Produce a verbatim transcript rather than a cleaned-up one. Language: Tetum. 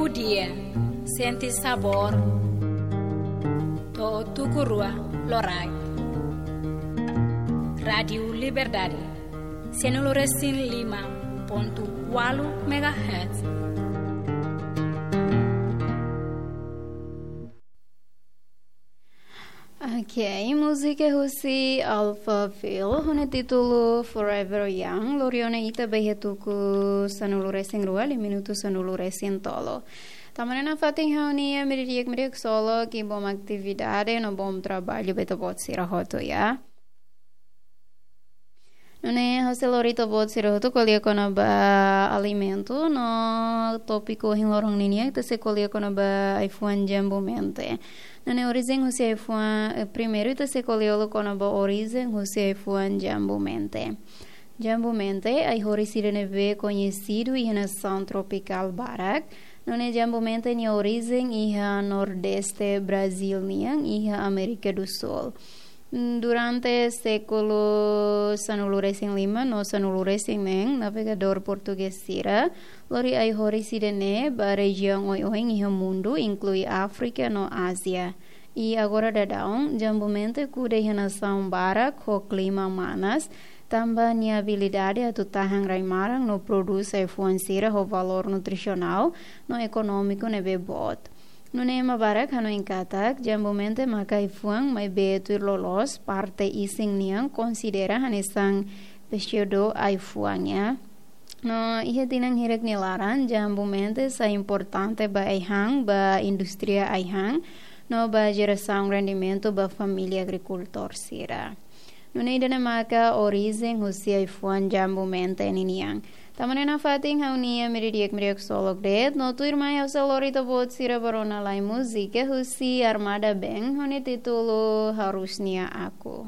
Dia, sente sabór, to'o tuku rua loraik. Rádiu Liberdade, sanulu resin lima pontu ualu megahertz. Ok, múzika husi Alphaville, ho nia títulu Forever Young, lori ona ita ba iha tuku sanulu resin rua, liu minutu sanulu resin tolu. Tanba ne'e nafatin ha'u-nia ema di'ak, ema di'ak solo, ke bom atividade, no bom traballu ba ita-boot sira hotu, ya. Nune'e ha'u sei lori ita-boot sira hotu ko'alia kona-ba alimentu, no tópiku ohin loron ninian ita sei ko'alia kona-ba ai-fuan jambu-mente. Nune'e orijen husi ai-fuan, eh, primeiru ita sei ko'alia kona-ba orijen husi ai-fuan jambu-mente. Jambu-mente, ai-horis ida ne'ebé koñesidu iha nasaun tropikál barak, nune'e jambu-mente nia orijen iha Nordeste Brazíl nian, iha Amérika do Sul. Durante sékulu sanulu resin lima no sanulu resin neen, navegadór portugés sira lori ai-horis ida-ne'e ba rejiaun oioin iha mundu, inklui Áfrika no Ázia. I agora daudaun, jambu-mente kuda iha nasaun barak ho klima manas, tanba nia abilidade atu tahan rai-maran no prodús ai-fuan sira ho valór nutrisionál no ekonómiku ne'ebé boot. Nune'e ema barak hanoin katak, jambu-mente maka ai-fuan maibé tuir loloos parte isin nian konsidera hanesan pseudo ai-fuan, ya. No iha tinan hirak nia laran, jambu-mente sai importante ba ai-han, ba indústria ai-han, no ba jerasaun rendimentu ba família agrikultór sira. Nune'e ida-ne'e maka orijen husi ai-fuan jambu-mente ninian. Tanba ne'e nafatin ha'u-nia ema di'ak, ema di'ak solo de'it, no tuirmai ha'u sei lori ita-boot sira ba rona lai múzika husi Armada Band, ho nia títulu Harusnya Aku.